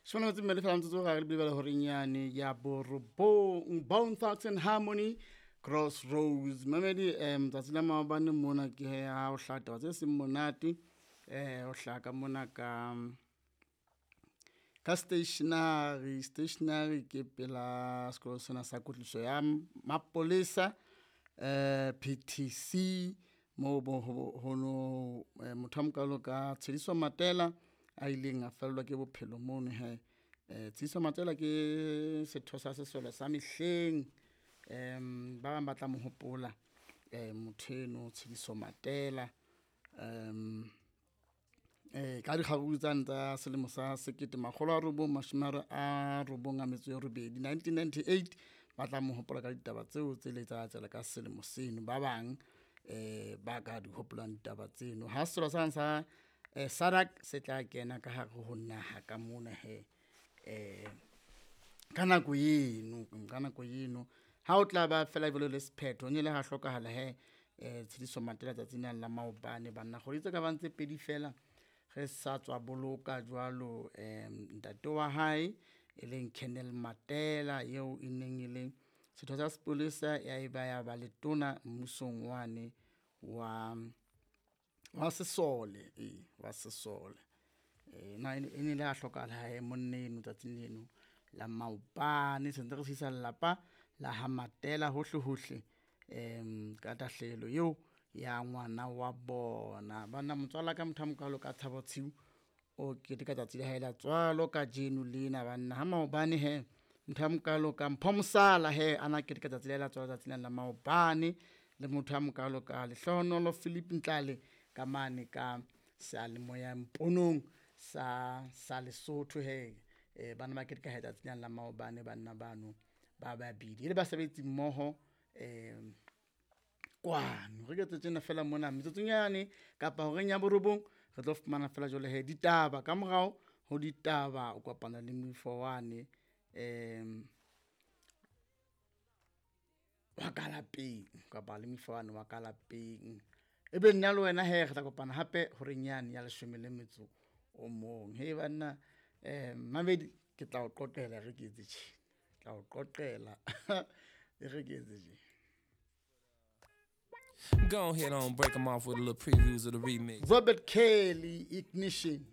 Shona metso mmedi fela metsotso ga re lebile horeng yane ya borobong. Bone Thugs and Harmony, Crossroads. Mamedi, tsatsi la maobane mona ke he ha o hlaha taba tse seng monate, o hlaha ka mona ka stationery. Stationery ke pela sekolo sena sa kwetliso ya mapolesa, PTC, moo bo ho no motho a mokalo ka Tshediso Matela a ileng a fellwa ke bophelo mono he. Tshediso Matela ke setho sa sesole sa mehleng, ba bang ba tla mo hopola motho eno Tshediso Matela, ka dikgaruru tsane tsa selemo sa 1998, 1998. Ba tla mo hopola ka ditaba tseo tse ile tsa etsahala ka selemo seno. Ba bang ba ka di hopolang ditaba tseno. Ha sesole sane sa SADC se tla kena ka hare ho naha ka mona he, ka nako eno, ka nako eno ha o tla ba fela jwalo le sephetho, ne ile ha hlokahala he Tshediso Matela tsatsing lane la maobane banna. Kgwedi tse ka bang tse pedi fela re sa tswa boloka jwalo ntate wa hae, e leng Colonel Matela eo e neng e le setho sa sepolesa, ya eba ya ba letona mmusong wane wa sesole, ee wa sesole. Na e ne ile ya hlokahala hae monna eno tsatsing leno la maobane. Sentse re tshedisa lelapa la ha Matela hohle hohle, ka tahlehelo eo ya ngwana wa bona. Banna motswala wa ka motho a mokalo ka Thabo Tshiu o keteka tsatsi la hae la tswalo kajeno lena banna. Ha maobane he motho a mokalo ka Mpho Mosala he ana keteka tsatsi la hae la tswalo tsatsi lena la maobane, le motho a mokalo ka Lehlohonolo Philip Ntlale ka mane ka seyalemoya mponong sa Lesotho he. Bana ba keteka he tsatsi lena la maobane banna bano ba babedi e le basebetsi mmoho kwano. Re ke tjena fela mona metsotsong yane kapa horeng ya borobong re tlo fumana fela jwale he ditaba. Ka morao ho ditaba o kopana le moifo wane wa ka lapeng, kapa le moifo wane wa ka lapeng. Ebe nna le wena he re tla kopana hape horeng yane ya leshome le metso o mong. He banna, mamedi ke tla o qoqela re ke etse tjena, ke tla o qoqela e re ke etse tje. Go ahead on, break them off with a little previews of the remix. Robert Kelly, Ignition.